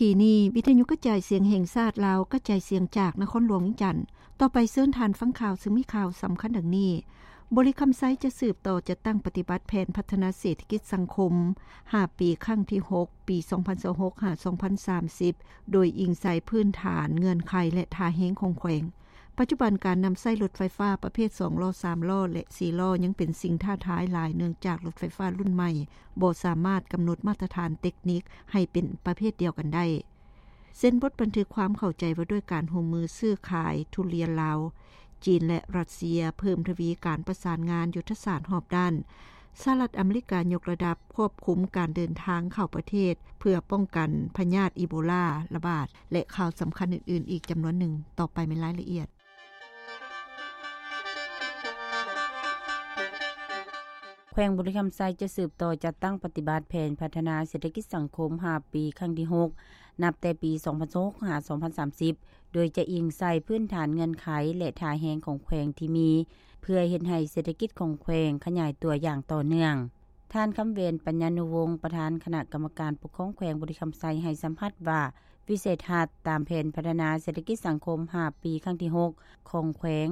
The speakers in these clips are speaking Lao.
ທີ່ນີ້ ວິທະຍຸກະຈາຍສຽງແຫ່ງຊາດລາວ ກະຈາຍສຽງຈາກນະຄອນຫຼວງວຽງຈັນ. ຕໍ່ໄປເຊີນທ່ານຟັງຂ່າວ ຊຶ່ງມີຂ່າວສຳຄັນດັ່ງນີ້: ບໍລິຄຳໄຊຈະສືບຕໍ່ຈັດຕັ້ງປະຕິບັດແຜນພັດທະນາເສດຖະກິດສັງຄົມຫ້າປີ ຄັ້ງທີຫົກ ປີສອງພັນຊາວຫົກ ຫາ ສອງພັນສາມສິບ ໂດຍອີງໃສ່ພື້ນຖານ, ເງື່ອນໄຂ ແລະ ທ່າແຮງຂອງແຂວງ. ປັດຈຸບັນການນຳໃຊ້ລົດໄຟຟ້າປະເພດສອງລໍ້, ສາມລໍ້ ແລະ ສີ່ລໍ້ ຍັງເປັນສິ່ງທ້າທາຍຫຼາຍ ເນື່ອງຈາກລົດໄຟຟ້າລຸ້ນໃໝ່ບໍ່ສາມາດກຳນົດມາດຕະຖານເຕັກນິກໃຫ້ເປັນປະເພດດຽວກັນໄດ້. ເຊັນບົດບັນທຶກຄວາມເຂົ້າໃຈວ່າດ້ວຍການຮ່ວມມືຊື້ຂາຍທຸລຽນລາວ, ຈີນ ແລະ ຣັດເຊຍ, ເພີ່ມທະວີການປະສານງານຍຸດທະສາດຮອບດ້ານ. ສະຫະລັດອາເມລິກາຍົກລະດັບຄວບຄຸມການເດີນທາງເຂົ້າປະເທດ ເພື່ອປ້ອງກັນພະຍາດອີໂບລາລະບາດ ແລະ ຂ່າວສຳຄັນອື່ນໆອີກຈຳນວນໜຶ່ງ. ຕໍ່ໄປແມ່ນລາຍລະອຽດ. ແຂວງບໍລິຄຳໄຊຈະສືບຕໍ່ຈັດຕັ້ງປະຕິບັດແຜນພັດທະນາເສດຖະກິດສັງຄົມຫ້າປີ ຄັ້ງທີຫົກ ນັບແຕ່ປີສອງພັນຊາວຫົກ ຫາ ສອງພັນສາມສິບ ໂດຍຈະອີງໃສ່ພື້ນຖານເງື່ອນໄຂ ແລະ ທ່າແຮງຂອງແຂວງທີ່ມີ ເພື່ອເຮັດໃຫ້ເສດຖະກິດຂອງແຂວງຂະຫຍາຍຕົວຢ່າງຕໍ່ເນື່ອງ. ທ່ານ ຄຳແຫວນ ປັນຍານຸວົງ ປະທານຄະນະກຳມະການປົກຄອງແຂວງບໍລິຄຳໄຊ ໃຫ້ສຳພາດວ່າ ວິໄສທັດຕາມແຜນພັດທະນາເສດຖະກິດສັງຄົມຫ້າປີ ຄັ້ງທີຫົກ ຂອງແຂວງ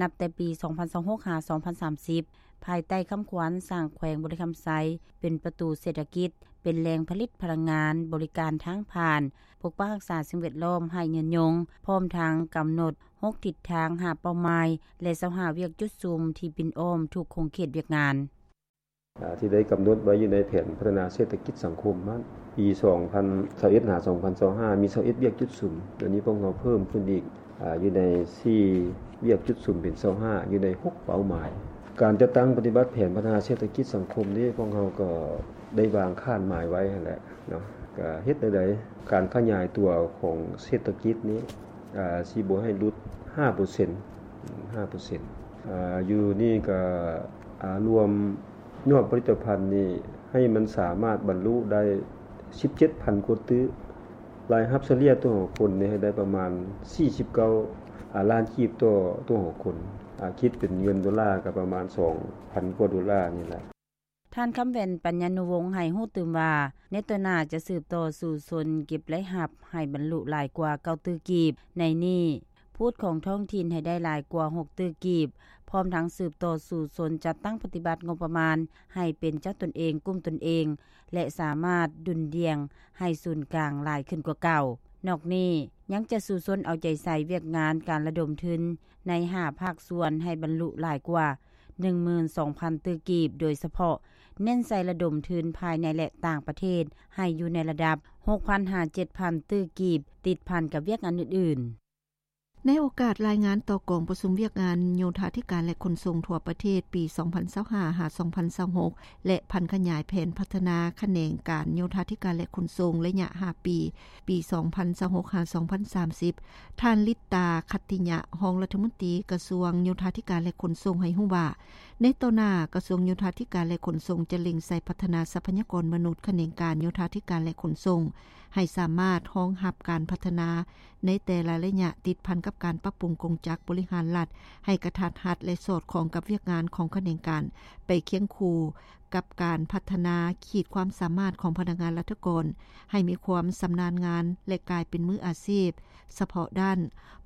ນັບແຕ່ປີສອງພັນຊາວຫົກ ຫາ ສອງພັນສາມສິບ ພາຍໃຕ້ຄຳຂວັນ ສ້າງແຂວງບໍລິຄຳໄຊເປັນປະຕູເສດຖະກິດ, ເປັນແຫຼ່ງຜະລິດພະລັງງານ, ບໍລິການທາງຜ່ານ, ປົກປັກຮັກສາສິ່ງແວດລ້ອມໃຫ້ຍືນຍົງ, ພ້ອມທັງກຳນົດຫົກທິດທາງ, ຫ້າເປົ້າໝາຍ ແລະ ຊາວຫ້າວຽກຈຸດສຸມທີ່ປິ່ນອ້ອມທຸກຂົງເຂດວຽກງານ. ອາ ທີ່ໄດ້ກຳນົດໄວ້ຢູ່ໃນແຜນພັດທະນາເສດຖະກິດສັງຄົມນັ້ນ ປີສອງພັນຊາວເອັດ ຫາ ສອງພັນຊາວຫ້າ ມີຊາວເອັດວຽກຈຸດສຸມ. ດຽວນີ້ພວກເຮົາເພີ່ມຂຶ້ນອີກ ອາ ຢູ່ໃນສີ່ວຽກຈຸດສຸມເປັນຊາວຫ້າ ຢູ່ໃນຫົກເປົ້າໝາຍ. ການຈັດຕັ້ງປະຕິບັດແຜນພັດທະນາເສດຖະກິດສັງຄົມນີ້ ພວກເຮົາກໍໄດ້ວາງຄາດໝາຍໄວ້ຫັ້ນແຫຼະເນາະ. ກະເຮັດແນວໃດ ການຂະຫຍາຍຕົວຂອງເສດຖະກິດນີ້ ອາ ຊິບໍ່ໃຫ້ຫຼຸດຫ້າເປີເຊັນ ຫ້າເປີເຊັນ. ອາ ຢູ່ນີ້ກະ ອາ ລວມ ຍອດຜະລິດຕະພັນນີ້ໃຫ້ມັນສາມາດບັນລຸໄດ້ສິບເຈັດພັນກວ່າຕື້, ລາຍຮັບສະເລ່ຍຕໍ່ຄົນນີ້ໃຫ້ໄດ້ປະມານສີ່ສິບເກົ້າລ້ານກີບຕໍ່ ຕໍ່ຄົນ, ອາ ຄິດເປັນເງິນໂດລາກໍປະມານສອງພັນກວ່າໂດລານີ້ແຫຼະ. ທ່ານ ຄຳແຫວນ ປັນຍານຸວົງ ໃຫ້ຮູ້ຕື່ມວ່າ ໃນຕໍ່ໜ້າຈະສືບຕໍ່ສູ້ຊົນເກັບລາຍຮັບໃຫ້ບັນລຸຫຼາຍກວ່າເກົ້າຕື້ກີບ, ໃນນີ້ ພູດຂອງທ້ອງຖິ່ນໃຫ້ໄດ້ຫຼາຍກວ່າຫົກຕື້ກີບ, ພ້ອມທັງສືບຕໍ່ສູ້ຊົນຈັດຕັ້ງປະຕິບັດງົບປະມານໃຫ້ເປັນເຈົ້າຕົນເອງ, ກຸ້ມຕົນເອງ ແລະ ສາມາດດຸ່ນດ່ຽງໃຫ້ສູນກາງຫຼາຍຂຶ້ນກວ່າເກົ່າ. ນອກນີ້ ຍັງຈະສູ້ຊົນເອົາໃຈໃສ່ວຽກງານການລະດົມທຶນໃນຫ້າພາກສ່ວນໃຫ້ບັນລຸຫຼາຍກວ່າໜຶ່ງໝື່ນສອງພັນຕື້ກີບ, ໂດຍສະເພາະເນັ້ນໃສ່ລະດົມທຶນພາຍໃນ ແລະ ຕ່າງປະເທດ ໃຫ້ຢູ່ໃນລະດັບຫົກພັນຫາເຈັດພັນຕື້ກີບ, ຕິດພັນກັບວຽກງານອື່ນໆ. ໃນໂອກາດລາຍງານຕໍ່ກອງປະຊຸມວຽກງານໂຍທາທິການ ແລະ ຂົນສົ່ງທົ່ວປະເທດ ປີສອງພັນຊາວຫ້າ ຫາ ສອງພັນຊາວຫົກ ແລະ ຜັນຂະຫຍາຍແຜນພັດທະນາຂະແໜງການໂຍທາທິການ ແລະ ຂົນສົ່ງ ໄລຍະຫ້າປີ ປີສອງພັນຊາວຫົກ ຫາ ສອງພັນສາມສິບ, ທ່ານ ລິດຕາ ຂັດຕິຍະ ຮອງລັດຖະມົນຕີກະຊວງໂຍທາທິການ ແລະ ຂົນສົ່ງ ໃຫ້ຮູ້ວ່າ ໃນຕໍ່ໜ້າ ກະຊວງໂຍທາທິການ ແລະ ຂົນສົ່ງ ຈະເລັ່ງໃສ່ພັດທະນາຊັບພະຍາກອນມະນຸດຂະແໜງການໂຍທາທິການ ແລະ ຂົນສົ່ງ ໃຫ້ສາມາດຮອງຮັບການພັດທະນາໃນແຕ່ລະໄລຍະ, ຕິດພັນກັບການປັບປຸງກົງຈັກບໍລິຫານລັດໃຫ້ກະທັດຮັດ ແລະ ສອດຄ່ອງກັບວຽກງານຂອງຂະແໜງການ, ໄປຄຽງຄູ່ກັບການພັດທະນາຂີດຄວາມສາມາດຂອງພະນັກງານລັດຖະກອນ ໃຫ້ມີຄວາມຊຳນານງານ ແລະ ກາຍເປັນມືອາຊີບສະເພາະດ້ານ,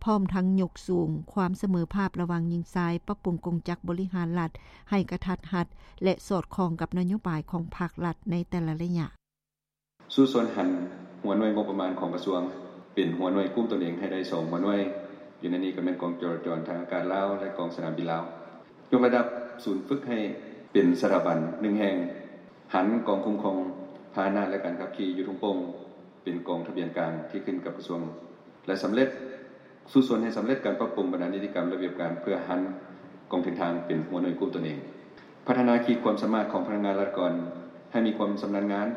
ພ້ອມທັງຍົກສູງຄວາມສະເໝີພາບລະຫວ່າງຍິງຊາຍ, ປັບປຸງກົງຈັກບໍລິຫານລັດໃຫ້ກະທັດຮັດ ແລະ ສອດຄ່ອງກັບນະໂຍບາຍຂອງພັກລັດໃນແຕ່ລະໄລຍະ. ສູ້ຊົນຫັນຫົວໜ່ວຍງົບປະມານຂອງກະຊວງ ເປັນຫົວໜ່ວຍກຸ້ມຕົນເອງໃຫ້ໄດ້ສອງຫົວໜ່ວຍ, ຢູ່ໃນນີ້ກໍແມ່ນກອງຈະລາຈອນທາງອາກາດລາວ ແລະ ກອງສະໜາມບິນລາວ. ຍົກລະດັບສູນຝຶກໃຫ້ເປັນສະຖາບັນໜຶ່ງແຫ່ງ, ຫັນກອງຄຸ້ມຄອງພາຫະນະ ແລະ ການຂັບຂີ່ຢູ່ທົ່ງໂປ່ງ ເປັນກອງທະບຽນກາງທີ່ຂຶ້ນກັບກະຊວງ ແລະ ສຳເລັດ ສູ້ຊົນໃຫ້ສຳເລັດການປັບປຸງບັນດານິຕິກຳລະບຽບການ ເພື່ອຫັນກອງເດີນທາງເປັນຫົວໜ່ວຍກຸ້ມຕົນເອງ. ພັດທະນາຂີດຄວາມສາມາດຂອງພະນັກງານລັດຖະກອນໃຫ້ມີຄວາມຊຳນານງານ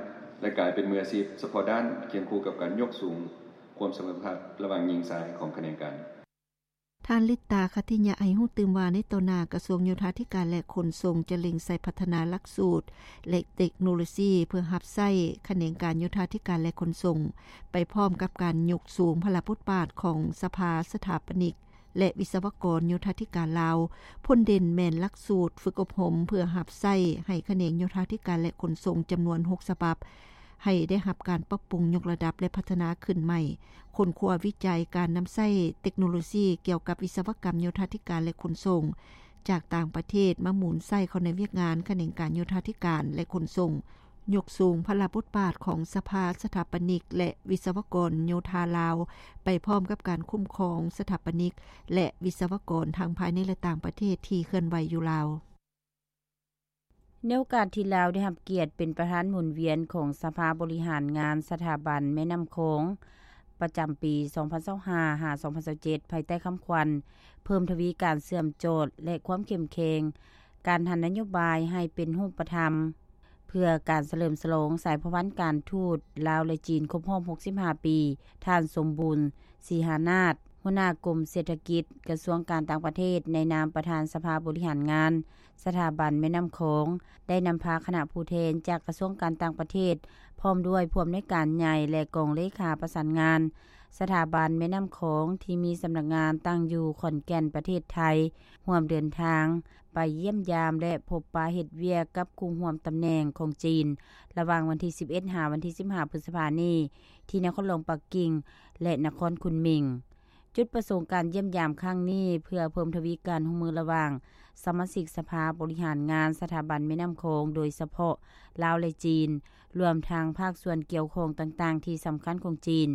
ແລະ ກາຍເປັນມືອາຊີບສະເພາະດ້ານ ຄຽງຄູ່ກັບການຍົກສູງຄວາມສະເໝີພາບລະຫວ່າງຍິງຊາຍຂອງຂະແໜງການ. ທ່ານ ລິດຕາ ຂັດຕິຍະ ໃຫ້ຮູ້ຕື່ມວ່າ ໃນຕໍ່ໜ້າ ກະຊວງໂຍທາທິການ ແລະ ຂົນສົ່ງ ຈະເລັ່ງໃສ່ພັດທະນາຫຼັກສູດ ແລະ ເຕັກໂນໂລຊີ ເພື່ອຮັບໃຊ້ຂະແໜງການໂຍທາທິການ ແລະ ຂົນສົ່ງ ໄປພ້ອມກັບການຍົກສູງພາລະບົດບາດຂອງສະພາສະຖາປະນິກ ແລະ ວິສະວະກອນໂຍທາທິການລາວ. ພົ້ນເດັ່ນແມ່ນຫຼັກສູດຝຶກອົບຮົມເພື່ອຮັບໃຊ້ໃຫ້ຂະແໜງໂຍທາທິການ ແລະ ຂົນສົ່ງ ຈຳນວນຫົກສະບັບ, ໃຫ້ໄດ້ຮັບການປັບປຸງຍົກລະດັບ ແລະ ພັດທະນາຂຶ້ນໃໝ່, ຄົ້ນຄວ້າວິໄຈການນຳໃຊ້ເຕັກໂນໂລຊີກ່ຽວກັບວິສະວະກຳໂຍທາທິການ ແລະ ຂົນສົ່ງ ຈາກຕ່າງປະເທດມາໝູນໃສ່ເຂົ້າໃນວຽກງານຂະແໜງການໂຍທາທິການ ແລະ ຂົນສົ່ງ, ຍົກສູງພາລະບົດບາດຂອງສະພາສະຖາປະນິກ ແລະ ວິສະວະກອນໂຍທາລາວ ໄປພ້ອມກັບການຄຸ້ມຄອງສະຖາປະນິກ ແລະ ວິສະວະກອນທັງພາຍໃນ ແລະ ຕ່າງປະເທດທີ່ເຄື່ອນໄຫວຢູ່ລາວ. ໃນໂອກາດທີ່ລາວໄດ້ຮັບກຽດເປັນປະທານໝູນວຽນຂອງສະພາບໍລິຫານງານສະຖາບັນແມ່ນ້ຳຂອງ ປະຈຳປີສອງພັນຊາວຫ້າ ຫາ ສອງພັນຊາວເຈັດ ພາຍໃຕ້ຄຳຂວັນ ເພີ່ມທະວີການເຊື່ອມຈອດ ແລະ ຄວາມເຂັ້ມແຂງການຫັນນະໂຍບາຍໃຫ້ເປັນຮູບປະທຳ ເພື່ອການສະເຫຼີມສະຫຼອງສາຍພົວພັນການທູດລາວ ແລະ ຈີນຄົບຮອບຫົກສິບຫ້າປີ, ທ່ານ ສົມບູນ ສີຫານາດ ຫົວໜ້າກົມເສດຖະກິດ ກະຊວງການຕ່າງປະເທດ ໃນນາມປະທານສະພາບໍລິຫານງານສະຖາບັນແມ່ນ້ຳຂອງ ໄດ້ນຳພາຄະນະຜູ້ແທນຈາກກະຊວງການຕ່າງປະເທດ ພ້ອມດ້ວຍຜູ້ອຳນວຍການໃຫຍ່ ແລະ ກອງເລຂາປະສານງານສະຖາບັນແມ່ນ້ຳຂອງ ທີ່ມີສຳນັກງານຕັ້ງຢູ່ຂອນແກ່ນ ປະເທດໄທ ຮ່ວມເດີນທາງໄປຢ້ຽມຢາມ ແລະ ພົບປະເຮັດວຽກກັບຄູ່ຮ່ວມຕຳແໜ່ງຂອງຈີນ ລະຫວ່າງວັນທີສິບເອັດ ຫາ ວັນທີສິບຫ້າ ພຶດສະພານີ້ ທີ່ນະຄອນຫຼວງປັກກິ່ງ ແລະ ນະຄອນຄຸນໝິງ. ຈຸດປະສົງການຢ້ຽມຢາມຄັ້ງນີ້ ເພື່ອເພີ່ມທະວີການຮ່ວມມືລະຫວ່າງສະມາຊິກສະພາບໍລິຫານງານສະຖາບັນແມ່ນ້ຳຂອງ ໂດຍສະເພາະລາວ ແລະ ຈີນ, ລວມທັງພາກສ່ວນກ່ຽວຂ້ອງຕ່າງໆທີ່ສຳຄັນຂອງຈີນ,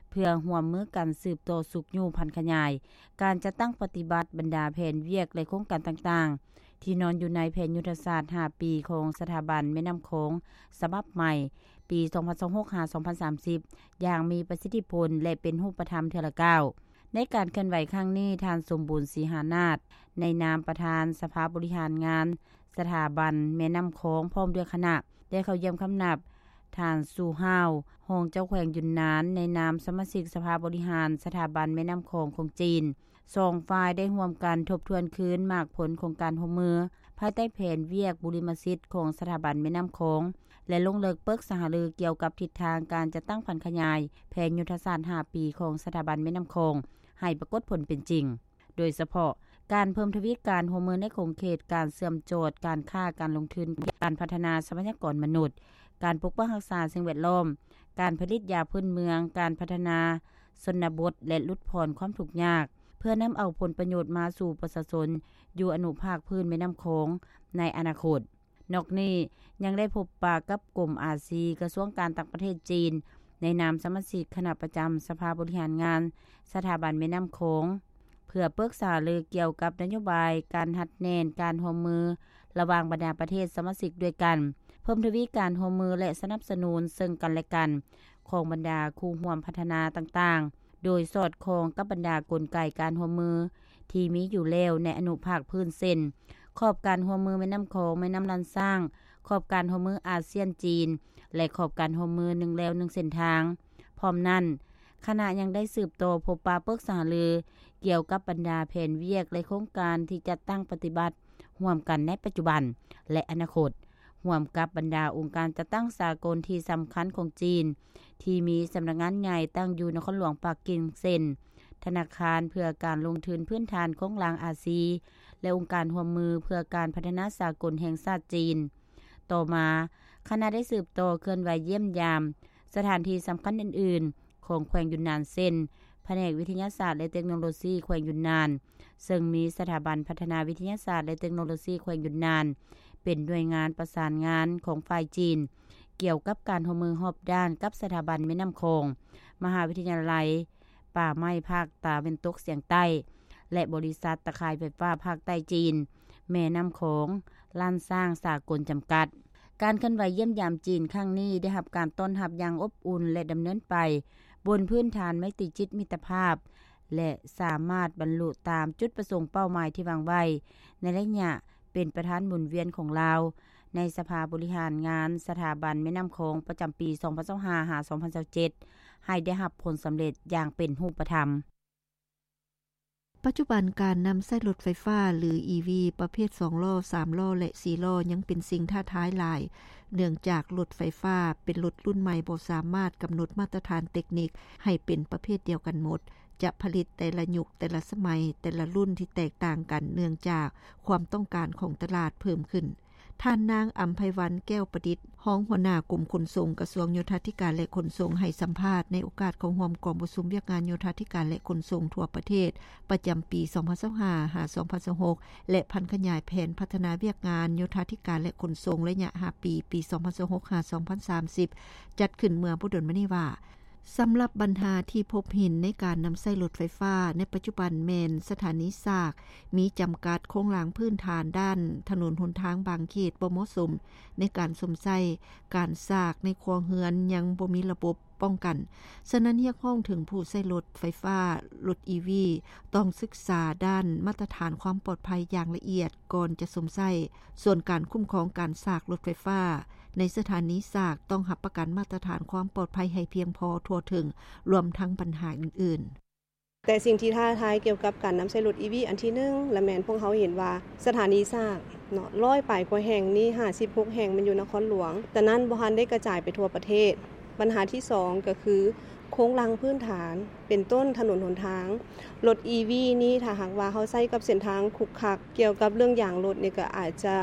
ເພື່ອຮ່ວມມືກັນສືບຕໍ່ຊຸກຍູ້ຜັນຂະຫຍາຍການຈັດຕັ້ງປະຕິບັດບັນດາແຜນວຽກ ແລະ ໂຄງການຕ່າງໆ ທີ່ນອນຢູ່ໃນແຜນຍຸດທະສາດຫ້າປີຂອງສະຖາບັນແມ່ນ້ຳຂອງສະບັບໃໝ່ ປີສອງພັນຊາວຫົກ ຫາ ສອງພັນສາມສິບ ຢ່າງມີປະສິດທິຜົນ ແລະ ເປັນຮູບປະທຳເທື່ອລະກ້າວ. ໃນການເຄື່ອນໄຫວຄັ້ງນີ້, ທ່ານ ສົມບູນ ສີຫານາດ ໃນນາມປະທານສະພາບໍລິຫານງານສະຖາບັນແມ່ນ້ຳຂອງ ພ້ອມດ້ວຍຄະນະ ໄດ້ເຂົ້າຢ້ຽມຄຳນັບ ທ່ານ ຊູ ຮາວ ຮອງເຈົ້າແຂວງຢຸນນານ ໃນນາມສະມາຊິກສະພາບໍລິຫານສະຖາບັນແມ່ນ້ຳຂອງຂອງຈີນ. ສອງຝ່າຍໄດ້ຮ່ວມກັນທົບທວນຄືນໝາກຜົນຂອງການຮ່ວມມື ພາຍໃຕ້ແຜນວຽກບຸລິມະສິດຂອງສະຖາບັນແມ່ນ້ຳຂອງ ແລະ ລົງເລິກປຶກສາຫາລືກ່ຽວກັບທິດທາງການຈັດຕັ້ງຜັນຂະຫຍາຍແຜນຍຸດທະສາດຫ້າປີຂອງສະຖາບັນແມ່ນ້ຳຂອງ ໃຫ້ປາກົດຜົນເປັນຈິງ, ໂດຍສະເພາະການເພີ່ມທະວີການຮ່ວມມືໃນຂົງເຂດການເຊື່ອມຈອດ, ການຄ້າ, ການລົງທຶນ, ການພັດທະນາຊັບພະຍາກອນມະນຸດ, ການປົກປັກຮັກສາສິ່ງແວດລ້ອມ, ການຜະລິດຢາພື້ນເມືອງ, ການພັດທະນາຊົນນະບົດ ແລະ ຫຼຸດຜ່ອນຄວາມທຸກຍາກ ເພື່ອນຳເອົາຜົນປະໂຫຍດມາສູ່ປະຊາຊົນຢູ່ອະນຸພາກພື້ນແມ່ນ້ຳຂອງໃນອະນາຄົດ. ນອກນີ້ຍັງໄດ້ພົບປະກັບກົມອາຊີ ກະຊວງການຕ່າງປະເທດຈີນ ໃນນາມສະມາຊິກຄະນະປະຈຳສະພາບໍລິຫານງານສະຖາບັນແມ່ນ້ຳຂອງ ເພື່ອປຶກສາຫາລືກ່ຽວກັບນະໂຍບາຍການຮັດແໜ້ນການຮ່ວມມືລະຫວ່າງບັນດາປະເທດສະມາຊິກດ້ວຍກັນ, ເພີ່ມທະວີການຮ່ວມມື ແລະ ສະໜັບສະໜູນເຊິ່ງກັນ ແລະ ກັນຂອງບັນດາຄູ່ຮ່ວມພັດທະນາຕ່າງໆ ໂດຍສອດຄ່ອງກັບບັນດາກົນໄກການຮ່ວມມືທີ່ມີຢູ່ແລ້ວໃນອະນຸພາກພື້ນ ເຊັ່ນ ຂອບການຮ່ວມມືແມ່ນ້ຳຂອງ, ແມ່ນ້ຳລ້ານຊ້າງ, ຂອບການຮ່ວມມືອາຊຽນ-ຈີນ ແລະ ຂອບການຮ່ວມມືໜຶ່ງແລວໜຶ່ງເສັ້ນທາງ. ພ້ອມນັ້ນ, ຄະນະຍັງໄດ້ສືບຕໍ່ພົບປະປຶກສາຫາລືກ່ຽວກັບບັນດາແຜນວຽກ ແລະ ໂຄງການທີ່ຈັດຕັ້ງປະຕິບັດຮ່ວມກັນໃນປັດຈຸບັນ ແລະ ອະນາຄົດ, ຮ່ວມກັບບັນດາອົງການຈັດຕັ້ງສາກົນທີ່ສຳຄັນຂອງຈີນ ທີ່ມີສຳນັກງານໃຫຍ່ຕັ້ງຢູ່ນະຄອນຫຼວງປັກກິ່ງ ເຊັ່ນ ທະນາຄານເພື່ອການລົງທຶນພື້ນຖານໂຄງລ່າງອາຊີ ແລະ ອົງການຮ່ວມມືເພື່ອການພັດທະນາສາກົນແຫ່ງຊາດຈີນ. ຕໍ່ມາ, ຄະນະໄດ້ສືບຕໍ່ເຄື່ອນໄຫວຢ້ຽມຢາມສະຖານທີ່ສຳຄັນອື່ນໆຂອງແຂວງຢຸນນານ ເຊັ່ນ ພະແນກວິທະຍາສາດ ແລະ ເຕັກໂນໂລຊີແຂວງຢຸນນານ, ເຊິ່ງມີສະຖາບັນພັດທະນາວິທະຍາສາດ ແລະ ເຕັກໂນໂລຊີແຂວງຢຸນນານ ເປັນໜ່ວຍງານປະສານງານຂອງຝ່າຍຈີນ ກ່ຽວກັບການຮ່ວມມືຮອບດ້ານກັບສະຖາບັນແມ່ນ້ຳຂອງ, ມະຫາວິທະຍາໄລປ່າໄມ້ພາກຕາເວັນຕົກສຽງໃຕ້ ແລະ ບໍລິສັດຕາຂ່າຍໄຟຟ້າພາກໃຕ້ຈີນ ແມ່ນ້ຳຂອງ ລ້ານຊ້າງສາກົນຈຳກັດ. ການເຄື່ອນໄຫວຢ້ຽມຢາມຈີນຄັ້ງນີ້ໄດ້ຮັບການຕ້ອນຮັບຢ່າງອົບອຸ່ນ ແລະ ດຳເນີນໄປບົນພື້ນຖານໄມຕີຈິດມິດຕະພາບ ແລະ ສາມາດບັນລຸຕາມຈຸດປະສົງເປົ້າໝາຍທີ່ວາງໄວ້ ໃນໄລຍະເປັນປະທານໝູນວຽນຂອງລາວ ໃນສະພາບໍລິຫານງານສະຖາບັນແມ່ນ້ຳຂອງປະຈຳປີສອງພັນຊາວຫ້າ ຫາ ສອງພັນຊາວເຈັດ ໃຫ້ໄດ້ຮັບຜົນສຳເລັດຢ່າງເປັນຮູບປະທຳ. ປັດຈຸບັນການນຳໃຊ້ລົດໄຟຟ້າ ຫຼື ອີ ວີ ປະເພດສອງລໍ້, ສາມລໍ້ ແລະ ສີ່ລໍ້ ຍັງເປັນສິ່ງທ້າທາຍຫຼາຍ, ເນື່ອງຈາກລົດໄຟຟ້າເປັນລົດລຸ້ນໃໝ່ ບໍ່ສາມາດກຳນົດມາດຕະຖານເຕັກນິກໃຫ້ເປັນປະເພດດຽວກັນໝົດ, ຈະຜະລິດແຕ່ລະຍຸກ, ແຕ່ລະສະໄໝ, ແຕ່ລະລຸ້ນທີ່ແຕກຕ່າງກັນ ເນື່ອງຈາກຄວາມຕ້ອງການຂອງຕະຫຼາດເພີ່ມຂຶ້ນ. ທ່ານນາງ ອຳໄພວັນ ແກ້ວປະດິດ ຮອງຫົວໜ້າກົມຂົນສົ່ງ ກະຊວງໂຍທາທິການ ແລະ ຂົນສົ່ງ ໃຫ້ສຳພາດໃນໂອກາດເຂົ້າຮ່ວມກອງປະຊຸມວຽກງານໂຍທາທິການ ແລະ ຂົນສົ່ງທົ່ວປະເທດ ປະຈຳປີ ສອງພັນຊາວຫ້າ ຫາ ສອງພັນຊາວຫົກ ແລະ ຜັນຂະຫຍາຍແຜນພັດທະນາວຽກງານໂຍທາທິການ ແລະ ຂົນສົ່ງ ໄລຍະຫ້າປີ ປີ ສອງພັນຊາວຫົກ ຫາ ສອງພັນສາມສິບ ຈັດຂຶ້ນເມື່ອບໍ່ດົນມານີ້ວ່າ ສຳລັບບັນຫາທີ່ພົບເຫັນໃນການນຳໃຊ້ລົດໄຟຟ້າໃນປັດຈຸບັນແມ່ນສະຖານີສາກມີຈຳກັດ, ໂຄງລ່າງພື້ນຖານດ້ານຖະໜົນຫົນທາງບາງເຂດບໍ່ເໝາະສົມໃນການຊົມໃຊ້, ການສາກໃນຄົວເຮືອນຍັງບໍ່ມີລະບົບປ້ອງກັນ. ສະນັ້ນຮຽກຮ້ອງເຖິງຜູ້ໃຊ້ລົດໄຟຟ້າ, ລົດອີວີ ຕ້ອງສຶກສາດ້ານມາດຕະຖານຄວາມປອດໄພຢ່າງລະອຽດກ່ອນຈະຊົມໃຊ້. ສ່ວນການຄຸ້ມຄອງການສາກລົດໄຟຟ້າ ໃນສະຖານີສາກຕ້ອງຮັບປະກັນມາດຕະຖານຄວາມປອດໄພໃຫ້ພຽງພໍທົ່ວເຖິງ, ລວມທັງບັນຫາອື່ນໆ. ແຕ່ສິ່ງທີ່ທ້າທາຍກ່ຽວກັບການນຳໃຊ້ລົດອີວີອັນທີໜຶ່ງ ລະແມ່ນພວກເຮົາເຫັນວ່າສະຖານີສາກເນາະ ຮ້ອຍປາຍກວ່າແຫ່ງນີ້ ຫ້າສິບຫົກແຫ່ງແມ່ນຢູ່ນະຄອນຫຼວງ, ແຕ່ນັ້ນບໍ່ທັນໄດ້ກະຈາຍໄປທົ່ວປະເທດ. ບັນຫາທີສອງກໍຄືໂຄງລ່າງພື້ນຖານ ເປັນຕົ້ນຖະໜົນຫົນທາງ. ລົດອີວີນີ້ ຖ້າຫາກວ່າເຮົາໃຊ້ກັບເສັ້ນທາງຂຸກຂັກ ກ່ຽວກັບເລື່ອງຢາງລົດນີ້ກໍອາດຈະ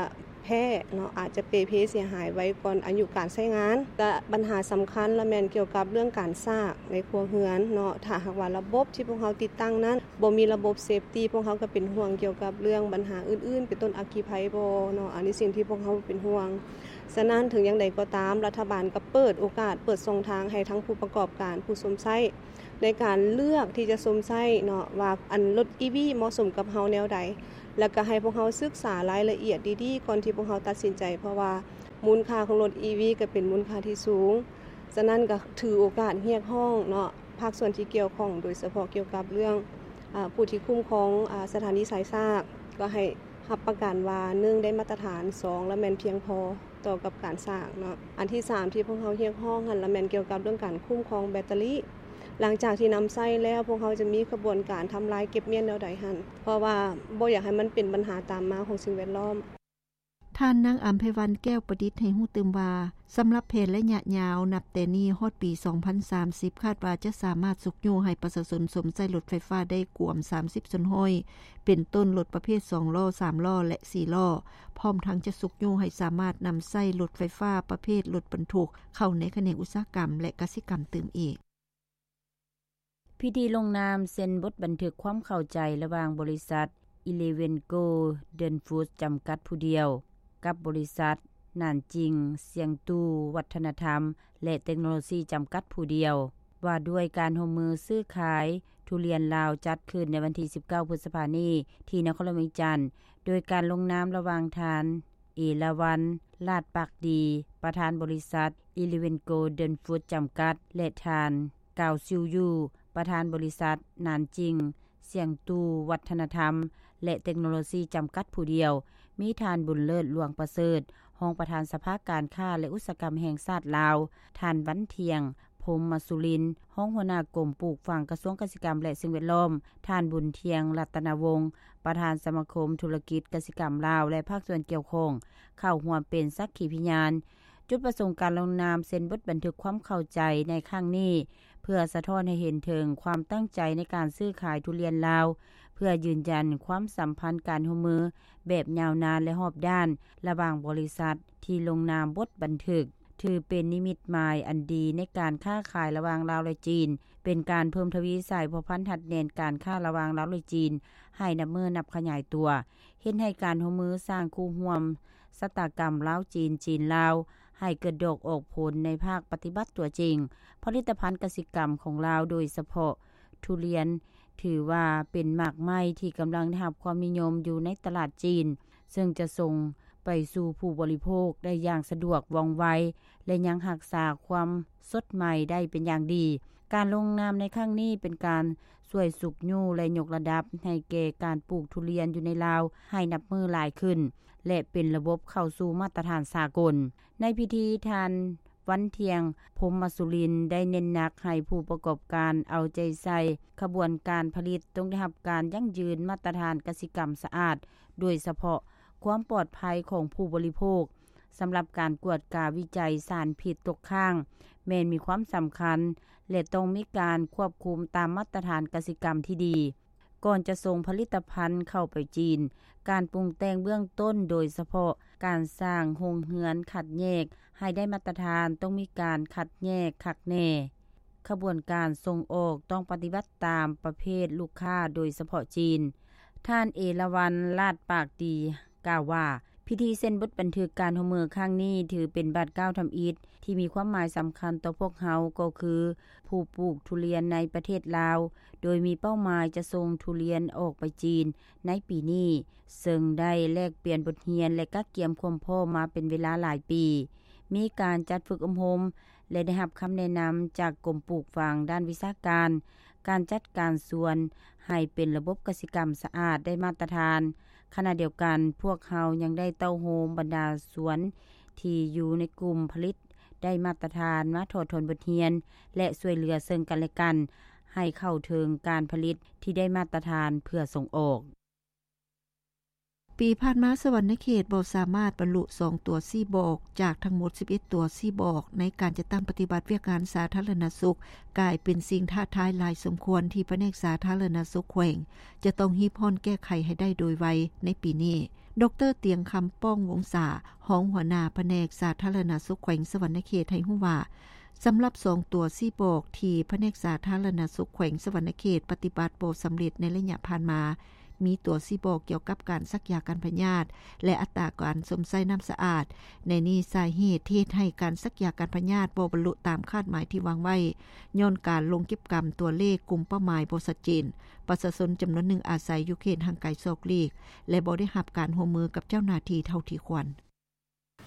ແພ້ເນາະ ອາດຈະເປ່ເພເສຍຫາຍໄວກ່ອນອາຍຸການໃຊ້ງານ. ແລະບັນຫາສຳຄັນລະແມ່ນກ່ຽວກັບເລື່ອງການສາກໃນຄົວເຮືອນເນາະ, ຖ້າຫາກວ່າລະບົບທີ່ພວກເຮົາຕິດຕັ້ງນັ້ນບໍ່ມີລະບົບເຊຟຕີ ພວກເຮົາກໍເປັນຫ່ວງກ່ຽວກັບເລື່ອງບັນຫາອື່ນໆ ເປັນຕົ້ນອັກຄີໄພບໍ່ເນາະ, ອັນນີ້ສິ່ງທີ່ພວກເຮົາເປັນຫ່ວງ. ສະນັ້ນເຖິງຢ່າງໃດກໍຕາມ ລັດຖະບານກໍເປີດໂອກາດ ເປີດຊ່ອງທາງໃຫ້ທັງຜູ້ປະກອບການ ຜູ້ຊົມໃຊ້ ໃນການເລືອກທີ່ຈະຊົມໃຊ້ເນາະ ວ່າອັນລົດອີວີເໝາະສົມກັບເຮົາແນວໃດ ແລ້ວກໍໃຫ້ພວກເຮົາສຶກສາລາຍລະອຽດດີໆ ກ່ອນທີ່ພວກເຮົາຕັດສິນໃຈ ເພາະວ່າມູນຄ່າຂອງລົດອີວີກໍເປັນມູນຄ່າທີ່ສູງ. ສະນັ້ນກໍຖືໂອກາດຮຽກຮ້ອງເນາະ ພາກສ່ວນທີ່ກ່ຽວຂ້ອງ ໂດຍສະເພາະກ່ຽວກັບເລື່ອງ ອາ ຜູ້ທີ່ຄຸ້ມຄອງ ອາ ສະຖານີສາຍສາກ ກໍໃຫ້ຮັບປະກັນວ່າ ໜຶ່ງ ໄດ້ມາດຕະຖານ, ສອງ ລະແມ່ນພຽງພໍ ຕໍ່ກັບການສ້າງເນາະ. ອັນທີສາມທີ່ພວກເຮົາຮຽກຮ້ອງຫັ້ນລະແມ່ນກ່ຽວກັບເລື່ອງການຄຸ້ມຄອງແບັດເຕີຣີ. ຫຼັງຈາກທີ່ນຳໃຊ້ແລ້ວ ພວກເຮົາຈະມີຂະບວນການທຳລາຍເກັບມ້ຽນແນວໃດຫັ້ນ ເພາະວ່າບໍ່ຢາກໃຫ້ມັນເປັນບັນຫາຕາມມາຂອງສິ່ງແວດລ້ອມ. ທ່ານນາງ ອຳໄພວັນ ແກ້ວປະດິດ ໃຫ້ຮູ້ຕື່ມວ່າ ສຳລັບແຜນໄລຍະຍາວ ນັບແຕ່ນີ້ຮອດປີສອງພັນສາມສິບ ຄາດວ່າຈະສາມາດຊຸກຍູ້ໃຫ້ປະຊາຊົນຊົມໃຊ້ລົດໄຟຟ້າໄດ້ກວມສາມສິບສ່ວນຮ້ອຍ ເປັນຕົ້ນລົດປະເພດສອງລໍ້, ສາມລໍ້ ແລະ ສີ່ລໍ້ ພ້ອມທັງຈະຊຸກຍູ້ໃຫ້ສາມາດນຳໃຊ້ລົດໄຟຟ້າປະເພດລົດບັນທຸກເຂົ້າໃນຂະແໜງອຸດສາຫະກຳ ແລະ ກະສິກຳຕື່ມອີກ. ພິທີລົງນາມເຊັນບົດບັນທຶກຄວາມເຂົ້າໃຈລະຫວ່າງບໍລິສັດ Eleven Golden Food ຈຳກັດຜູ້ດຽວ ກັບບໍລິສັດ ໜານຈິງ ຊຽງຕູ ວັດທະນະທຳ ແລະ ເຕັກໂນໂລຊີ ຈຳກັດຜູ້ດຽວ ວ່າດ້ວຍການຮ່ວມມືຊື້ຂາຍທຸລຽນລາວ ຈັດຂຶ້ນໃນວັນທີສິບເກົ້າ ພຶດສະພານີ້ ທີ່ນະຄອນຫຼວງວຽງຈັນ ໂດຍການລົງນາມລະຫວ່າງທ່ານ ເອລາວັນ ລາດປາກດີ ປະທານບໍລິສັດ Eleven Golden Food ຈຳກັດ ແລະ ທ່ານ ກາວ ຊິວຢູ່ ປະທານບໍລິສັດ ໜານຈິງ ຊຽງຕູ ວັດທະນະທຳ ແລະ ເຕັກໂນໂລຊີ ຈຳກັດຜູ້ດຽວ, ມີທ່ານ ບຸນເລີດ ຫຼວງປະເສີດ ຮອງປະທານສະພາການຄ້າ ແລະ ອຸດສາຫະກຳແຫ່ງຊາດລາວ, ທ່ານ ວັນທ່ຽງ ພົມມະສຸລິນ ຮອງຫົວໜ້າກົມປູກຝັງ ກະຊວງກະສິກຳ ແລະ ສິ່ງແວດລ້ອມ, ທ່ານ ບຸນທ່ຽງ ລັດຕະນະວົງ ປະທານສະມາຄົມທຸລະກິດກະສິກຳລາວ ແລະ ພາກສ່ວນກ່ຽວຂ້ອງ ເຂົ້າຮ່ວມເປັນສັກຂີພະຍານ. ຈຸດປະສົງການລົງນາມເຊັນບົດບັນທຶກຄວາມເຂົ້າໃຈໃນຄັ້ງນີ້ ເພື່ອສະທ້ອນໃຫ້ເຫັນເຖິງຄວາມຕັ້ງໃຈໃນການຊື້ຂາຍທຸລຽນລາວ ເພື່ອຢືນຢັນຄວາມສຳພັນການຮ່ວມມືແບບຍາວນານ ແລະ ຮອບດ້ານ ລະຫວ່າງບໍລິສັດທີ່ລົງນາມບົດບັນທຶກ, ຖືເປັນນິມິດໝາຍອັນດີໃນການຄ້າຂາຍລະຫວ່າງລາວ ແລະ ຈີນ, ເປັນການເພີ່ມທະວີສາຍພົວພັນຮັດແໜ້ນການຄ້າລະຫວ່າງລາວ ແລະ ຈີນ ໃຫ້ນັບມື້ນັບຂະຫຍາຍຕົວ, ເຮັດໃຫ້ການຮ່ວມມືສ້າງຄູ່ຮ່ວມຊະຕາກຳລາວ-ຈີນ, ຈີນ-ລາວ ໃຫ້ເກີດດອກອອກຜົນໃນພາກປະຕິບັດຕົວຈິງ. ຜະລິດຕະພັນກະສິກຳຂອງລາວ, ໂດຍສະເພາະທຸລຽນ, ຖືວ່າເປັນໝາກໄມ້ທີ່ກຳລັງໄດ້ຮັບຄວາມນິຍົມຢູ່ໃນຕະຫຼາດຈີນ, ເຊິ່ງຈະສົ່ງໄປສູ່ຜູ້ບໍລິໂພກໄດ້ຢ່າງສະດວກ, ວ່ອງໄວ ແລະ ຍັງຮັກສາຄວາມສົດໃໝ່ໄດ້ເປັນຢ່າງດີ. ການລົງນາມໃນຄັ້ງນີ້ເປັນການຊ່ວຍຊຸກຍູ້ ແລະ ຍົກລະດັບໃຫ້ແກ່ການປູກທຸລຽນຢູ່ໃນລາວໃຫ້ນັບມື້ຫຼາຍຂຶ້ນ ແລະ ເປັນລະບົບເຂົ້າສູ່ມາດຕະຖານສາກົນ. ໃນພິທີ, ທ່ານ ວັນທ່ຽງ ພົມມະສຸລິນ ໄດ້ເນັ້ນໜັກໃຫ້ຜູ້ປະກອບການເອົາໃຈໃສ່ຂະບວນການຜະລິດຕ້ອງໄດ້ຮັບການຢັ້ງຢືນມາດຕະຖານກະສິກຳສະອາດ, ໂດຍສະເພາະຄວາມປອດໄພຂອງຜູ້ບໍລິໂພກ. ສຳລັບການກວດກາວິໄຈສານພິດຕົກຄ້າງ ແມ່ນມີຄວາມສຳຄັນ ແລະ ຕ້ອງມີການຄວບຄຸມຕາມມາດຕະຖານກະສິກຳທີ່ດີ. ກ່ອນຈະສົ່ງຜະລິດຕະພັນເຂົ້າໄປຈີນ. ການປຸງແຕ່ງເບື້ອງຕົ້ນ ໂດຍສະເພາະການສ້າງໂຮງເຮືອນຄັດແຍກໃຫ້ໄດ້ມາດຕະຖານ ຕ້ອງມີການຄັດແຍກຄັກແນ່. ຂະບວນການສົ່ງອອກຕ້ອງປະຕິບັດຕາມປະເພດລູກຄ້າ ໂດຍສະເພາະຈີນ. ທ່ານ ເອລາວັນ ລາດປາກດີ ກ່າວວ່າ ພິທີເຊັນບົດບັນທຶກການຮ່ວມມືຄັ້ງນີ້ ຖືເປັນບາດກ້າວທຳອິດທີ່ມີຄວາມໝາຍສຳຄັນຕໍ່ພວກເຮົາ ກໍຄືຜູ້ປູກທຸລຽນໃນປະເທດລາວ, ໂດຍມີເປົ້າໝາຍຈະສົ່ງທຸລຽນອອກໄປຈີນໃນປີນີ້, ເຊິ່ງໄດ້ແລກປ່ຽນບົດຮຽນ ແລະ ກະກຽມຄວາມພ້ອມມາເປັນເວລາຫຼາຍປີ. ມີການຈັດຝຶກອົບຮົມ ແລະ ໄດ້ຮັບຄຳແນະນຳຈາກກົມປູກຝັງດ້ານວິຊາການ, ການຈັດການສວນໃຫ້ເປັນລະບົບກະສິກຳສະອາດໄດ້ມາດຕະຖານ. ຂະນະດຽວກັນ, ພວກເຮົາຍັງໄດ້ເຕົ້າໂຮມບັນດາສວນທີ່ຢູ່ໃນກຸ່ມຜະລິດໄດ້ມາດຕະຖານ ມາຖອດຖອນບົດຮຽນ ແລະ ຊ່ວຍເຫຼືອເຊິ່ງກັນແລະກັນ ໃຫ້ເຂົ້າເຖິງການຜະລິດທີ່ໄດ້ມາດຕະຖານເພື່ອສົ່ງອອກ. ປີຜ່ານມາ, ສະຫວັນນະເຂດບໍ່ສາມາດບັນລຸສອງຕົວຊີ້ບອກ ຈາກທັງໝົດສິບເອັດຕົວຊີ້ບອກ ໃນການຈັດຕັ້ງປະຕິບັດວຽກງານສາທາລະນະສຸກ, ກາຍເປັນສິ່ງທ້າທາຍຫຼາຍສົມຄວນ ທີ່ພະແນກສາທາລະນະສຸກແຂວງ ຈະຕ້ອງຮີບຮ້ອນແກ້ໄຂໃຫ້ໄດ້ໂດຍໄວໃນປີນີ້. ດຣ. ຕຽງຄຳ ປ້ອງວົງສາ, ຮອງຫົວໜ້າພະແນກສາທາລະນະສຸກແຂວງສະຫວັນນະເຂດ ໃຫ້ຮູ້ວ່າ, ສຳລັບສອງຕົວຊີ້ບອກ ທີ່ພະແນກສາທາລະນະສຸກແຂວງສະຫວັນນະເຂດປະຕິບັດບໍ່ສຳເລັດໃນໄລຍະຜ່ານມາ, ມີຕົວຊີ້ບອກກ່ຽວກັບການສັກຢາກັນພະຍາດ ແລະ ອັດຕາການຊົມໃຊ້ນ້ຳສະອາດ. ໃນນີ້, ສາເຫດທີ່ເຮັດໃຫ້ການສັກຢາກັນພະຍາດບໍ່ບັນລຸຕາມຄາດໝາຍທີ່ວາງໄວ້, ຍ້ອນການລົງເກັບກຳຕົວເລກກຸ່ມເປົ້າໝາຍບໍ່ຊັດເຈນ, ປະຊາຊົນຈຳນວນໜຶ່ງອາໄສຢູ່ເຂດຫ່າງໄກສອກຫຼີກ ແລະ ບໍ່ໄດ້ຮັບການຮ່ວມມືກັບເຈົ້າໜ້າທີ່ເທົ່າທີ່ຄວນ.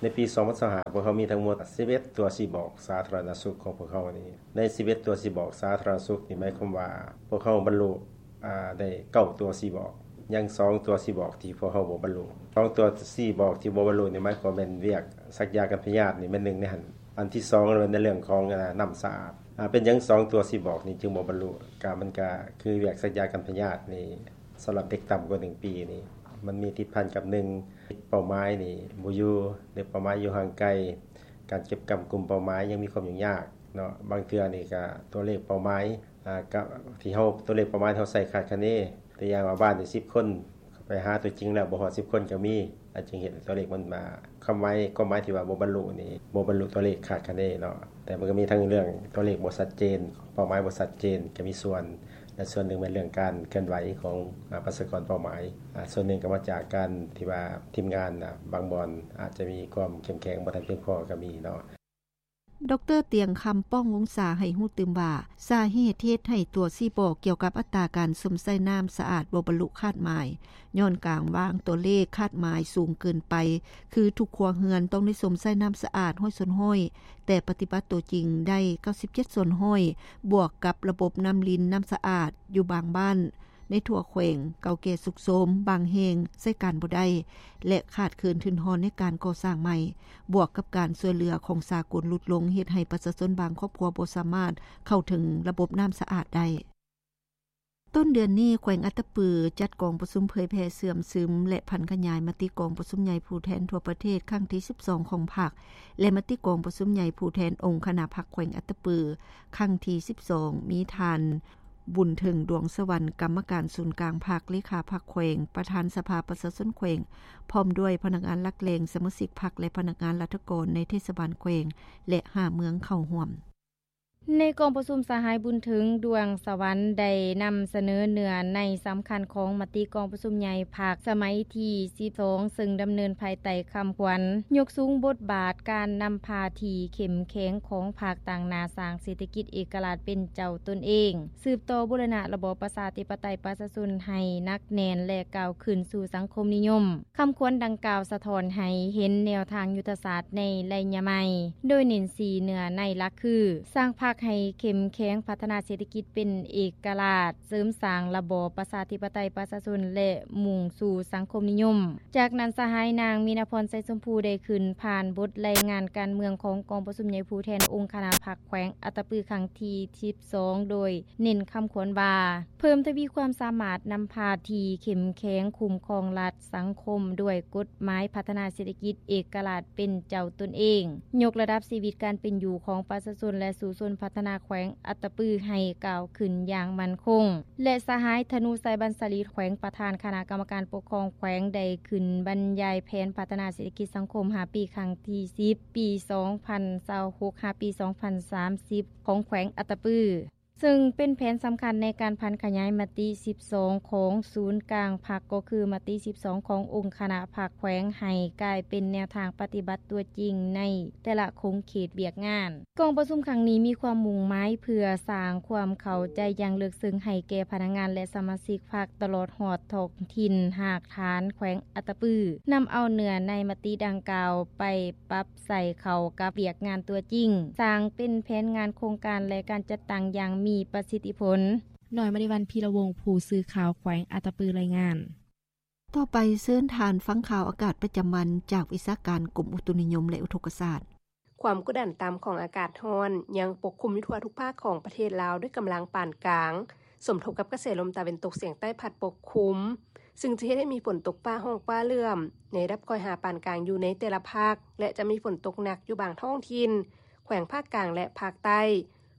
ໃນປີສອງພັນຊາວຫ້າ ພວກເຮົາມີທັງໝົດສິບເອັດຕົວຊີ້ບອກສາທາລະນະສຸກຂອງພວກເຮົານີ້. ໃນສິບເອັດຕົວຊີ້ບອກສາທາລະນະສຸກນີ້ ໝາຍຄວາມວ່າພວກເຮົາບັນລຸ ອ່າ ໄດ້ເກົ້າຕົວຊີ້ບອກ, ຍັງສອງຕົວຊີ້ບອກທີ່ພວກເຮົາບໍ່ບັນລຸ. ສອງຕົວຊີ້ບອກທີ່ບໍ່ບັນລຸນີ້ ໝາຍຄວາມແມ່ນວຽກສັກຢາກັນພະຍາດນີ້ແມ່ນໜຶ່ງໃນຫັ້ນ. ອັນທີສອງແມ່ນໃນເລື່ອງຂອງ ອ່າ ນ້ຳສະອາດ. ອ່າ ເປັນຫຍັງສອງຕົວຊີ້ບອກນີ້ຈຶ່ງບໍ່ບັນລຸ? ກະ ມັນກະຄືວຽກສັກຢາກັນພະຍາດນີ້ ສຳລັບເດັກຕ່ຳກວ່າໜຶ່ງປີນີ້ ມັນມີຕິດພັນກັບ ໜຶ່ງ ເປົ້າໝາຍນີ້ບໍ່ຢູ່ ຫຼື ເປົ້າໝາຍຢູ່ຫ່າງໄກ, ການເກັບກຳກຸ່ມເປົ້າໝາຍຍັງມີຄວາມຫຍຸ້ງຍາກເນາະ. ບາງເທື່ອນີ້ກະຕົວເລກເປົ້າໝາຍ ອາ ກະທີ່ເຮົາ ຕົວເລກເປົ້າໝາຍທີ່ເຮົາໃຊ້ຄາດຄະເນ, ຕົວຢ່າງວ່າບ້ານນີ້ສິບຄົນ, ໄປຫາຕົວຈິງແລ້ວບໍ່ຮອດສິບຄົນກໍມີ, ອັນຈຶ່ງເຮັດໃຫ້ຕົວເລກມັນມາ ຄວາມໝາຍ ຄວາມໝາຍທີ່ວ່າບໍ່ບັນລຸນີ້ ບໍ່ບັນລຸຕົວເລກຄາດຄະເນເນາະ. ແຕ່ມັນກໍມີທັງເລື່ອງຕົວເລກບໍ່ຊັດເຈນ, ເປົ້າໝາຍບໍ່ຊັດເຈນ ກໍມີສ່ວນ ແລະ ສ່ວນໜຶ່ງແມ່ນເລື່ອງການເຄື່ອນໄຫວຂອງ ອາ ປະຊາກອນເປົ້າໝາຍ. ອາ ສ່ວນໜຶ່ງກໍມາຈາກການທີ່ວ່າທີມງານ ອາ ບາງບ່ອນອາດຈະມີຄວາມເຂັ້ມແຂງບໍ່ທັນພຽງພໍກໍມີເນາະ. ດຣ. ຕຽງຄຳ ປ້ອງວົງສາ ໃຫ້ຮູ້ຕື່ມວ່າ ສາເຫດທີ່ເຮັດໃຫ້ຕົວຊີ້ບອກກ່ຽວກັບອັດຕາການຊົມໃຊ້ນ້ຳສະອາດບໍ່ບັນລຸຄາດໝາຍ ຍ້ອນການວາງຕົວເລກຄາດໝາຍສູງເກີນໄປ, ຄືທຸກຄົວເຮືອນຕ້ອງໄດ້ຊົມໃຊ້ນ້ຳສະອາດຮ້ອຍສ່ວນຮ້ອຍ ແຕ່ປະຕິບັດຕົວຈິງໄດ້ເກົ້າສິບເຈັດສ່ວນຮ້ອຍ ບວກກັບລະບົບນ້ຳລິນນ້ຳສະອາດຢູ່ບາງບ້ານ ໃນທົ່ວແຂວງເກົ່າແກ່ຊຸດໂຊມ, ບາງແຫ່ງໃຊ້ການບໍ່ໄດ້ ແລະ ຂາດເຂີນທຶນຮອນໃນການກໍ່ສ້າງໃໝ່, ບວກກັບການຊ່ວຍເຫຼືອຂອງສາກົນຫຼຸດລົງ ເຮັດໃຫ້ປະຊາຊົນບາງຄອບຄົວບໍ່ສາມາດເຂົ້າເຖິງລະບົບນ້ຳສະອາດໄດ້. ຕົ້ນເດືອນນີ້, ແຂວງອັດຕະປື ຈັດກອງປະຊຸມເຜີຍແຜ່ເຊື່ອມຊຶມ ແລະ ຜັນຂະຫຍາຍມະຕິກອງປະຊຸມໃຫຍ່ຜູ້ແທນທົ່ວປະເທດຄັ້ງທີສິບສອງຂອງພັກ ແລະ ມະຕິກອງປະຊຸມໃຫຍ່ຜູ້ແທນອົງຄະນະພັກແຂວງອັດຕະປື ຄັ້ງທີສິບສອງ ມີທ່ານ ບຸນເຖິງ ດວງສະຫວັນ ກຳມະການສູນກາງພັກ, ເລຂາພັກແຂວງ, ປະທານສະພາປະຊາຊົນແຂວງ, ພ້ອມດ້ວຍພະນັກງານຫຼັກແຫຼ່ງ, ສະມາຊິກພັກ ແລະ ພະນັກງານລັດຖະກອນໃນເທດສະບານແຂວງ ແລະ ຫ້າເມືອງເຂົ້າຮ່ວມ. ໃນກອງປະຊຸມ, ສະຫາຍ ບຸນເຖິງ ດວງສະຫວັນ ໄດ້ນຳສະເໜີເນື້ອໃນສຳຄັນຂອງມະຕິກອງປະຊຸມໃຫຍ່ພັກສະໄໝທີສິບສອງ ເຊິ່ງດຳເນີນພາຍໃຕ້ຄຳຂວັນ ຍົກສູງບົດບາດການນຳພາທີ່ເຂັ້ມແຂງຂອງພັກ, ຕັ້ງໜ້າສ້າງເສດຖະກິດເອກະລາດເປັນເຈົ້າຕົນເອງ, ສືບຕໍ່ບູລະນະລະບອບປະຊາທິປະໄຕປະຊາຊົນໃຫ້ໜັກແໜ້ນ ແລະ ກ້າວຂຶ້ນສູ່ສັງຄົມນິຍົມ. ຄຳຂວັນດັ່ງກ່າວສະທ້ອນໃຫ້ເຫັນແນວທາງຍຸດທະສາດໃນໄລຍະໃໝ່, ໂດຍເນັ້ນສີ່ເນື້ອໃນຫຼັກຄື ສ້າງພັກໃຫ້ເຂັ້ມແຂງ, ພັດທະນາເສດຖະກິດເປັນເອກະລາດ, ເສີມສ້າງລະບອບປະຊາທິປະໄຕປະຊາຊົນ ແລະ ມຸ່ງສູ່ສັງຄົມນິຍົມ. ຈາກນັ້ນ, ສະຫາຍ ນາງ ມີນາພອນ ໄຊຊົມພູ ໄດ້ຂຶ້ນຜ່ານບົດລາຍງານການເມືອງຂອງກອງປະຊຸມໃຫຍ່ຜູ້ແທນອົງຄະນະພັກແຂວງອັດຕະປືຄັ້ງທີສິບສອງ ໂດຍ ເນັ້ນຄຳຂວັນວ່າ ເພີ່ມທະວີຄວາມສາມາດນຳພາທີ່ເຂັ້ມແຂງ, ຄຸ້ມຄອງລັດ, ສັງຄົມ ດ້ວຍກົດໝາຍພັດທະນາເສດຖະກິດເອກະລາດເປັນເຈົ້າຕົນເອງ, ຍົກລະດັບຊີວິດການເປັນຢູ່ຂອງປະຊາຊົນ ແລະ ສູ້ຊົນ ພັດທະນາແຂວງອັດຕະປືໃຫ້ກ້າວຂຶ້ນຢ່າງໝັ້ນຄົງ ແລະ ສະຫາຍ ທະນູໄຊ ບັນສາລີ ແຂວງ ປະທານຄະນະກຳມະການປົກຄອງແຂວງ ໄດ້ຂຶ້ນບັນຍາຍແຜນພັດທະນາເສດຖະກິດສັງຄົມຫ້າປີ ຄັ້ງທີສິບ ປີສອງພັນຊາວຫົກ ຫາ ປີສອງພັນສາມສິບ ຂອງແຂວງອັດຕະປື ເຊິ່ງເປັນແຜນສຳຄັນໃນການຜັນຂະຫຍາຍມະຕິສິບສອງຂອງສູນກາງພັກ ກໍຄືມະຕິສິບສອງຂອງອົງຄະນະພັກແຂວງ ໃຫ້ກາຍເປັນແນວທາງປະຕິບັດຕົວຈິງໃນແຕ່ລະຂົງເຂດວຽກງານ. ກອງປະຊຸມຄັ້ງນີ້ມີຄວາມມຸ່ງໝາຍເພື່ອສ້າງຄວາມເຂົ້າໃຈຢ່າງເລິກເຊິ່ງໃຫ້ແກ່ພະນັກງານ ແລະ ສະມາຊິກພັກ ຕະຫຼອດຮອດທ້ອງຖິ່ນຮາກຖານແຂວງອັດຕະປື, ນຳເອົາເນື້ອໃນມະຕິດັ່ງກ່າວໄປປັບໃຊ້ເຂົ້າກັບວຽກງານຕົວຈິງ, ສ້າງເປັນແຜນງານໂຄງການ ແລະ ການຈັດຕັ້ງຢ່າງມີປະສິດທິຜົນ. ນ້ອຍມະນີວັນ ພີລະວົງ ຜູ້ສື່ຂ່າວແຂວງອັດຕະປື ລາຍງານ. ຕໍ່ໄປເຊີນທ່ານຟັງຂ່າວອາກາດປະຈຳວັນຈາກວິຊາການກົມອຸຕຸນິຍົມ ແລະ ອຸທົກກະສາດ. ຄວາມກົດດັນຕ່ຳຂອງອາກາດຮ້ອນຍັງປົກຄຸມຢູ່ທົ່ວທຸກພາກຂອງປະເທດລາວດ້ວຍກຳລັງປານກາງ, ສົມທົບກັບກະແສລົມຕາເວັນຕົກສຽງໃຕ້ພັດປົກຄຸມ, ຊຶ່ງຈະເຮັດໃຫ້ມີຝົນຕົກຟ້າຮ້ອງຟ້າເຫຼື້ອມໃນລະດັບຄ່ອຍຫາປານກາງຢູ່ໃນແຕ່ລະພາກ ແລະ ຈະມີຝົນຕົກໜັກຢູ່ບາງທ້ອງຖິ່ນ ແຂວງພາກກາງ ແລະ ພາກໃຕ້,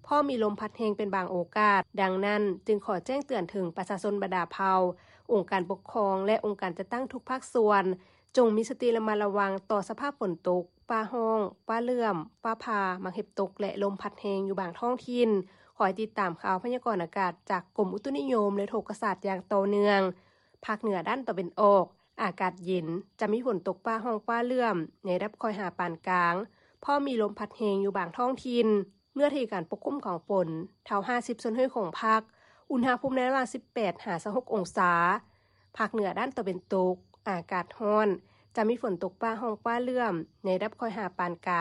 ພ້ອມມີລົມພັດແຮງເປັນບາງໂອກາດ. ດັ່ງນັ້ນ, ຈຶ່ງຂໍແຈ້ງເຕືອນເຖິງປະຊາຊົນບັນດາເຜົ່າ, ອົງການປົກຄອງ ແລະ ອົງການຈັດຕັ້ງທຸກພາກສ່ວນ, ຈົ່ງມີສະຕິລະມັດລະວັງຕໍ່ສະພາບຝົນຕົກ, ຟ້າຮ້ອງ, ຟ້າເຫຼື້ອມ, ຟ້າຜ່າ, ໝາກເຫັບຕົກ ແລະ ລົມພັດແຮງຢູ່ບາງທ້ອງຖິ່ນ. ຄອຍຕິດຕາມຂ່າວພະຍາກອນອາກາດຈາກກົມອຸຕຸນິຍົມ ແລະ ອຸທົກກະສາດຢ່າງຕໍ່ເນື່ອງ. ພາກເໜືອດ້ານຕາເວັນອອກ, ອາກາດເຢັນ, ຈະມີຝົນຕົກຟ້າຮ້ອງຟ້າເຫຼື້ອມໃນລະດັບຄ່ອຍຫາປານກາງ, ພ້ອມມີລົມພັດແຮງຢູ່ບາງທ້ອງຖິ່ນ. ເນື້ອທີ່ການປົກຄຸມຂອງຝົນ ເທົ່າຫ້າສິບສ່ວນຮ້ອຍຂອງພາກ, ອຸນຫະພູມໃນລະຫວ່າງສິບແປດຫາຊາວຫົກອົງສາ. ພາກເໜືອດ້ານຕາເວັນຕົກ, ອາກາດຮ້ອນ, ຈະມີຝົນຕົກຟ້າຮ້ອງຟ້າເຫຼື້ອມໃນລະດັບຄ່ອຍຫາປານກາງ.